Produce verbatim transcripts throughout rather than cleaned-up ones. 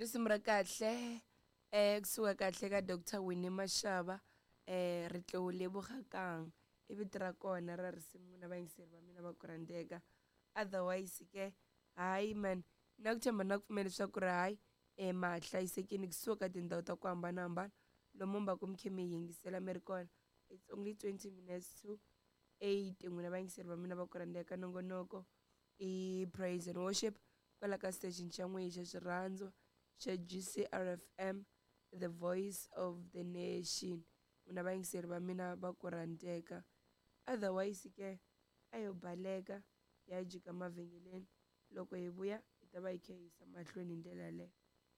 Risimu ra kahle eh kusuka kahle ka Doctor Winnie Mashaba eh ri tlo leboga kang i vito ra kona ra risimu na vayingiseri va mina va ku rhandzeka. Otherwise ke hayi man, na ku tshemba na ku pfumela leswaku ri hayi eh ma hlayisekile kusuka tindhawu ta ku hambanahambana lomu mi va ku mi khe mi yingisela mi ri kona. It's only twenty minutes to eight n'wina vayingiseri va mina va ku rhandzeka. Nongonoko i praise and worship kwala ka station xa n'we xa xirhandzu xa G C R F M, the voice of the nation. N'wina vayingiseri va mina va ku rhandzeka. Otherwise ke a yo baleka ya jika mavhengeleni, loko hi vuya hi ta va hi kha hi yisa mahlweni hi ndlela yaleyo.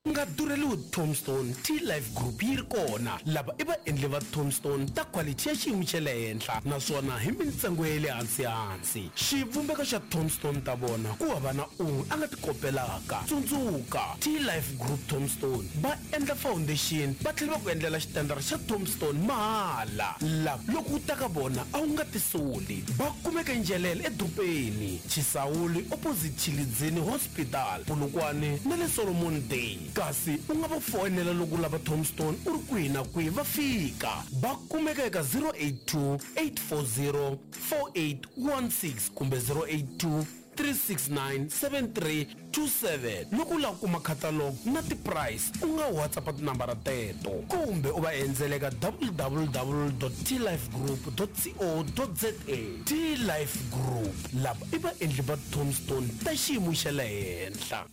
U nga durheliwi Tombstone T Life Group yi ri kona. Lava i vaendli va Tombstone ta quality ya xiyimo xa le henhla naswona hi mintsengo ya le hansi-hansi. Xivumbeko xa Tombstone ta vona ku hava na un'we a nga ti kopelaka. Tsundzuka, T Life Group Tombstone va endla foundation va tlhela va ku endlela xitandara xa Tombstone mahala. Lava loko u ta ka vona a wu nga tisoli. Va kumeka eNjelele edorobeni, Chisawuli opposite Chilidzini Hospital, Polokwane na le Solomon Day. Kasi u nga va foyinela loko u lava Tombstone u ri kwihi na kwihi va fika. Va kumeka eka zero eight two, eight four zero, four eight one six kumbe zero eight two, three six nine, seven three two seven. Loko u lava ku kuma catalog na ti-price u nga WhatsApp tinambara teto kumbe u va endzela eka w w w dot t life group dot co dot z a. T Life Group, lava i vaendli va Tombstone ta xiyimo xa le henhla.